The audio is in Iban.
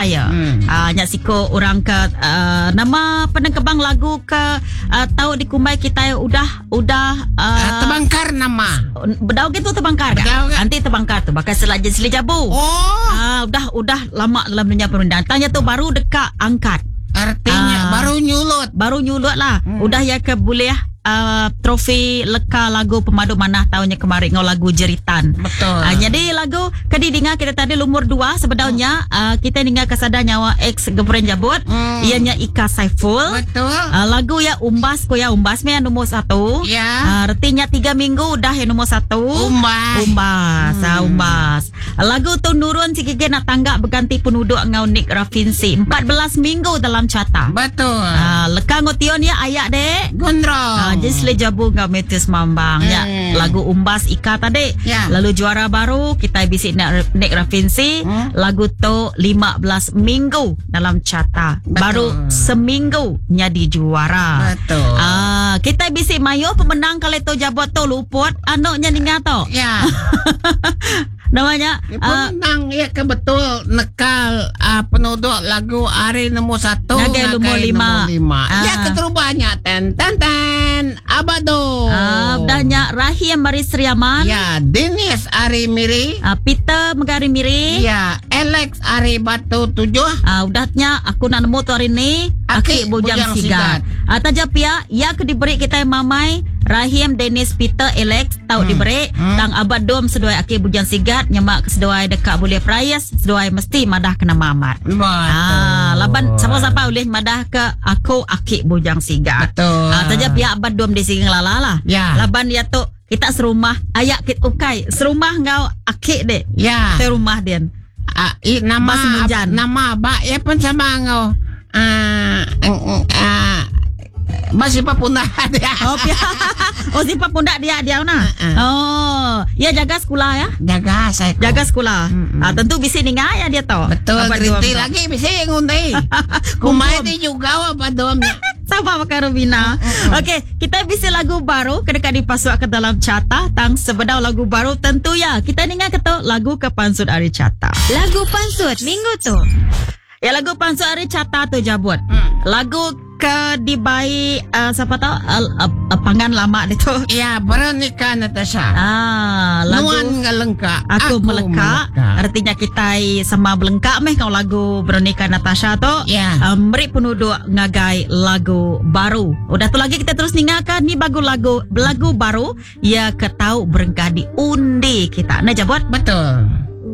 Empire. Hmm. Uh, nya siko orang ke uh, nama penengkebang lagu ke uh, tau dikumbai kita udah udah uh, uh, terbangkar nama. Bedau gitu terbangkar kan? Nanti terbangkar tu bakal selak seli jabu. Oh. Uh, udah udah lama dalam dunia perundang. Tanya tu baru dekat angkat. Artinya uh, baru nyulut. Baru nyulut lah. Hmm. Udah ya ke boleh uh, trofi leka lagu pemadu manah tahunnya kemarin ngau lagu Jeritan. Betul. Uh, jadi lagu ke didinga kita tadi lumur dua sebedaunya hmm. uh, kita ninga kesada nyawa ex Gebren Jabut hmm. ianya Ika Saiful. Betul. Uh, lagu ya Umbas ko ya Umbas me yang nombor satu. Ya. Uh, artinya tiga minggu udah yang nombor satu. Umbas. Umbas. Hmm. Uh, umbas. Lagu tu nurun si gigi nak tangga berganti penuduk ngau Nick Rafinsi. 14 minggu dalam carta. Betul. Uh, leka ngotion ya ayak dek. Gondrong. Uh, jadi sele jabu ngau Matthews Mambang. Ya, lagu Umbas Ika tadi. Ya. Lalu juara baru kita bisi Nick, Nick Rafinsi. Hmm. Lagu tu 15 minggu dalam carta. Betul. Baru seminggu nyadi juara. Betul. Ah, kita bisi mayo pemenang kali tu jabot tu luput anoknya ninga tu. Ya. Namanya uh, Pemenang ya ke betul nekal uh, penuduk lagu hari nombor satu Ngagai nombor lima. nombor lima. Ah. Ya keterubahnya ten ten ten abado. uh, udahnya Rahim Maris Riaman. Ya Dennis Ari Miri. Uh, Peter Megari Miri. Ya Alex Ari Batu tujuh. Ah, udahnya aku nak nemu tu hari ni Aki Aki Bujang, Bujang Sigat. Sigat. Ah, taja pia ya ke diberi kita mamai Rahim Dennis Peter Alex tau hmm. diberi hmm. tang abad dom seduai Aki Bujang Sigat nyemak ke seduai dekat boleh prayas seduai mesti madah kena mamat. Betul. Ah, laban siapa-siapa boleh madah ke aku Aki Bujang Sigat. Betul. Ah, taja pihak abad dom di sini lala lah. Ya. Laban dia tu kita serumah ayak kita ukai serumah ngau Aki dek. Ya. Serumah dia. Ah, i, nama Bas Munjan. nama abak ya pun sama ngau. Ah, ah, ah, masih papunah dia. Oh, pia. Oh, siapa pundak dia dia nah. Uh-uh. Oh, ya jaga sekolah ya. Jaga saya. Jaga sekolah. Mm-mm. Ah, tentu bisi ninga ya dia tau. Betul, Abad gerinti dua. lagi bisa ngundi. Kumai di juga apa domnya. Sama pakai Rubina. Okey, kita bisi lagu baru kena dipasuk ke dalam carta tang sebedau lagu baru tentu ya. Kita ninga ketuk lagu ke pansut ari carta. Lagu Pansut Minggu tu. Ya lagu pansut ari carta tu jabut. Hmm. Lagu ke dibai uh, siapa tahu uh, uh, uh, pangan lama dia tu. Ya, Veronica Natasha. Ah, lagu Nuan ngelengkak. Aku, melekak. Artinya kita sama belengkak meh kau lagu Veronica Natasha tu. Ya. Um, meri penuduk ngagai lagu baru. Udah tu lagi kita terus ningakan ni bagu lagu lagu baru ya ketau berengkah di undi kita. Nah jabot. Betul.